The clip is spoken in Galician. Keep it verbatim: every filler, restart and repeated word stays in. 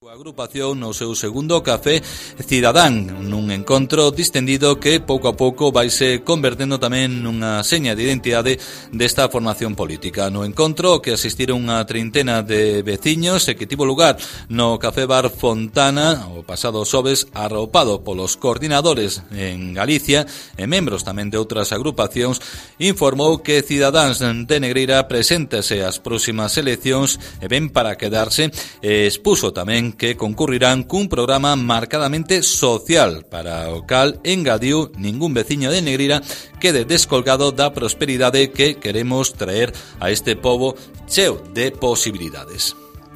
A agrupación no seu segundo café cidadán, nun encontro distendido que pouco a pouco vaise convertendo tamén nunha seña de identidade desta formación política. No encontro que asistiron unha trintena de veciños e que tivo lugar no Café Bar Fontana o pasado xoves, arropado polos coordinadores en Galicia e membros tamén de outras agrupacións, informou que Cidadáns de Negreira preséntase ás próximas eleccións e ven para quedarse e expuso tamén que concurrirán cun programa marcadamente social, para o cal engadiu ningún veciño de Negreira quede descolgado da prosperidade que queremos traer a este pobo cheo de posibilidades.